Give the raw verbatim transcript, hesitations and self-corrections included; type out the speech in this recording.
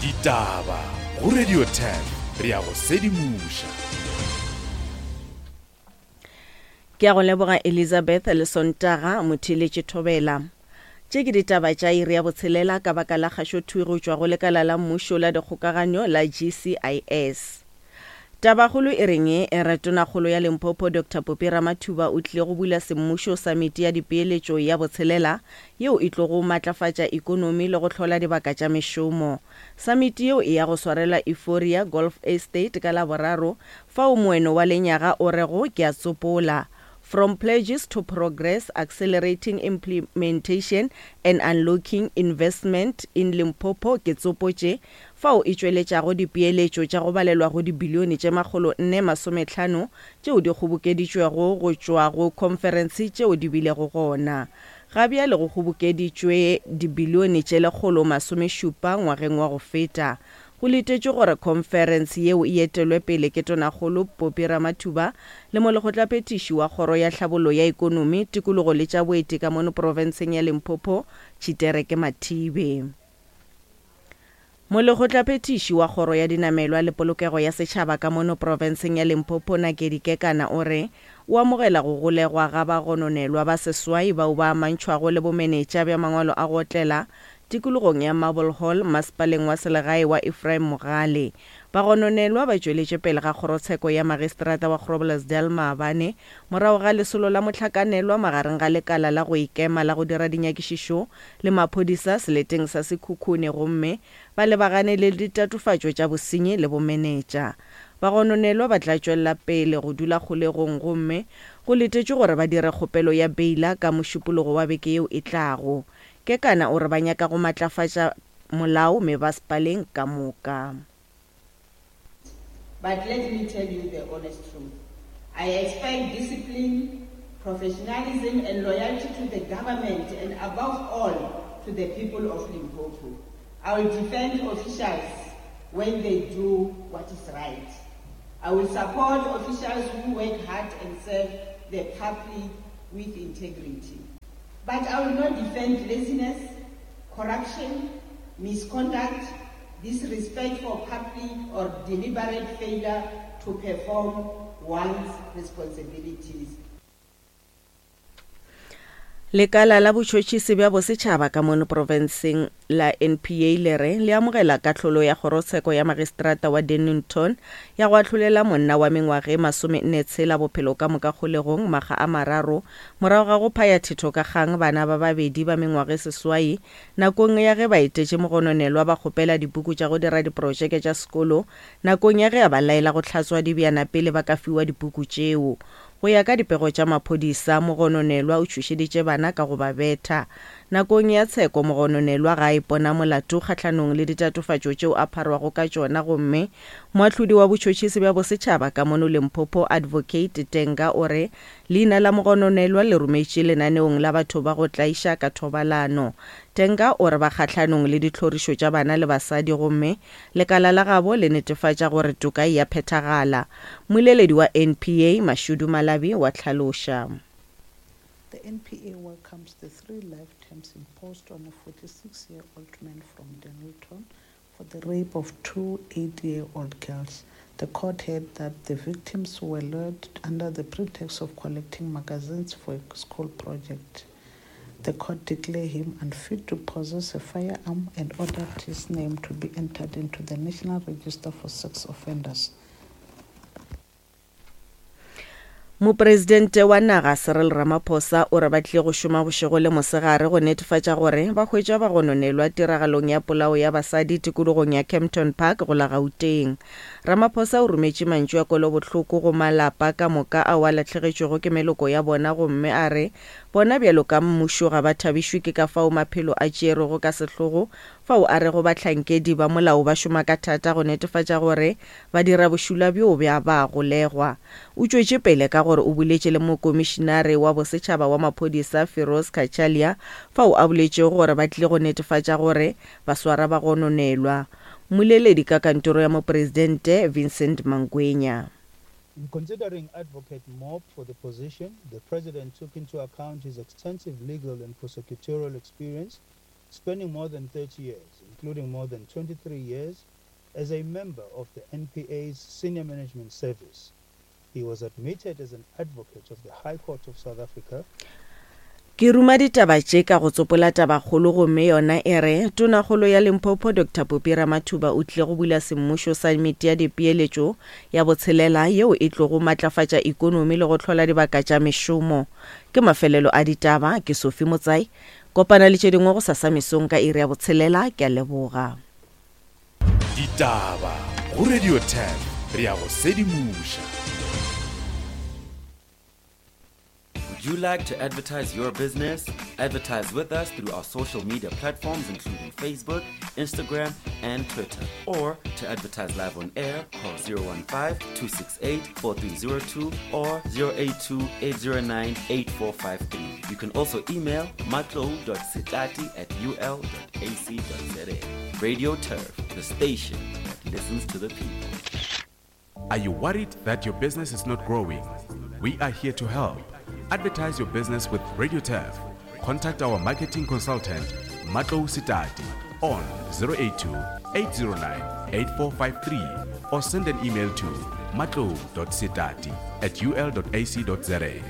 Ditaba go Radio ten re a go sedimoša. Ke a go leboga Elizabeth le Sontaga Motheeletši Thobela. Tše ke ditaba tša iri ya botshelela ka baka la kgašothwi go tšwa go lekala la mmušo la dikgokaganyo la G C I S. Tabakgolo e reng e re Tonakgolo ya Limpopo Doctor Phophi Ramathuba o tlile go bula semmušo samiti ya dipeeletšo ya botshelela yeo e tlogo matlafatša ikonomi le go hlola dibaka tša mešomo. Samiti yeo e ya go swarelwa Euphoria Golf Estate ka Laboraro fao moeno wa lenyaga o rego ke a tsopola From Pledges to Progress, Accelerating Implementation and Unlocking Investment in Limpopo ke tsopotše fao e tšweletšago dipeeletšo tša go balelwa go dibilione tše makgolo nne masometlhano tšeo di kgobokeditšwego go tšwa go khonferense tšeo di bilego gona. Ga bjale go kgobokeditšwe dibilione tše lekgolo masomešupa ngwageng wa go feta. Go letetšwe gore khonferense yeo e etelwe pele ke Tonakgolo Phophi Ramathuba le molekgotlaphethiši wa kgoro ya tlhabollo ya ikonomi, tikologo le tša boeti ka mono profenseng ya Limpopo, Tshitereke Mathibe. Molekgotlaphethiši wa kgoro ya dinamelwa le polokego ya setšhaba ka mono profenseng ya Limpopo, Nakedi Kekana o re o amogela go golegwa ga bagononelwa ba seswai bao ba amantšhwago le bomenetša bja mangwalo a go otlela tikologong ya Marble Hall masepaleng wa selegae wa Ephraim Mogale. Bagononelwa ba tšweletše pele ga kgorotsheko ya magistrata wa Groblersdal maabane morago ga lesolo la mohlakanelwa magareng ga lekala la go ikema la go dira dinyakišišo le maphodisa seleteng sa Sekhukhune gomme ba lebagane le ditatofatšo tša bosenyi le bomenetša. Bagononelwa ba tla tšwelela pele go dula kgolegong gomme go letetšwe gore ba dire kgopelo ya beila ka mošupologo wa beke yeo e tlago. Kekana o re ba nyaka go matlafatša molao mebasepaleng ka moka. But let me tell you the honest truth. I expect discipline, professionalism and loyalty to the government and above all to the people of Limpopo. I will defend officials when they do what is right. I will support officials who work hard and serve the public with integrity. But I will not defend laziness, corruption, misconduct, disrespect for public or deliberate failure to perform one's responsibilities. Lekala la botšhotšhisi bja bosetšhaba ka mono profenseng la N P A le re le amogela kahlolo ya kgorotsheko ya magistrata wa Dennington ya go ahlolela monna wa mengwaga e masomenne tshela bophelo ka moka kgolegong makga a mararo morago ga go phaya thetho ka kgang bana ba babedi ba mengwaga e seswai nakong ya ge ba etetše mogononelwa ba kgopela dipuku tša go dira diprojeke tša sekolo nakong ya ge a ba laela go hlatswa dibjana pele ba ka fiwa dipuku tšeo. Go ya ka dipego tša maphodisa, mogononelwa o tšhošeditše bana ka go ba betha. Nakong ya tsheko mogononelwa ga a ipona molato kgahlanong le ditatofatšo tšeo a pharwago ka tšona gomme moahlodi wa botšhotšhisi bja bosetšhaba ka mono Limpopo Advocate Tenga o re leina la mogononelwa le rometše lenaneong la batho ba go tlaiša ka thobalano. Tenga o re ba kgahlanong le ditlhorišo tša bana le basadi gomme lekala la gabo le netefatša gore toka e a phethagala. Mmoleledi wa N P A Mashudu Malabi wa hlaloša. The N P A welcomes the three life terms imposed on a forty-six-year-old man from Dennilton for the rape of two eight-year-old girls. The court heard that the victims were lured under the pretext of collecting magazines for a school project. The court declared him unfit to possess a firearm and ordered his name to be entered into the National Register for Sex Offenders. Mopresidente wa naga Cyril Ramaphosa o re ba tlile go šoma bošego le mosegare go netefatša gore ba hwetša bagononelwa tiragalong ya polao ya basadi tikologong ya Kempton Park go la Gauteng. Ramaphosa o rometše mantšu a kwelobohloko go malapa ka moka ao a lahlegetšwego ke meloko ya bona gomme a re bona bjalo ka mmušo ga ba thabišwe ke ka fao maphelo a tšerwego ka sehlogo fao a rego bahlankedi ba molao ba šoma ka thata go netefatša gore ba dira bošula bjo bja ba golegwa. O tšwetše pele ka gore o boletše le mokomišinare wa bosetšhaba wa maphodisa Firoz Cachalia fao a boletšego gore ba tlile go netefatša gore ba swara bagononelwa. Mmoleledi ka kantoro ya mopresidente Vincent Mangwenya. In considering Advocate Mob for the position, the President took into account his extensive legal and prosecutorial experience spanning more than thirty years, including more than twenty-three years as a member of the N P A's Senior Management Service. He was admitted as an advocate of the High Court of South Africa. Ke ruma ditaba tše ka go tsopola tabakgolo gomme yona e re Tonakgolo ya Limpopo Doctor Phophi Ramathuba o tlile go bula semmušo samiti ya dipeeletšo ya botshelela yeo e tlogo matlafatša ikonomi le go hlola dibaka tša mešomo. Ke mafelelo a ditaba, ke Sophie Motsai. Kopana le tše dingwe go sasa mesong ka iri ya botshelela, ke a leboga. Ditaba go Radio ten, re ya go sedimoša. Would you like to advertise your business? Advertise with us through our social media platforms including Facebook, Instagram, and Twitter. Or to advertise live on air, call zero one five, two six eight, four three zero two or zero eight two, eight zero nine, eight four five three. You can also email matlo dot setati at U L dot A C dot Z A. Radio Turf, the station that listens to the people. Are you worried that your business is not growing? We are here to help. Advertise your business with Radio Turf. Contact our marketing consultant, Matlo Sitati, on zero eight two, eight zero nine, eight four five three or send an email to matlo dot sitati at U L dot A C dot Z A.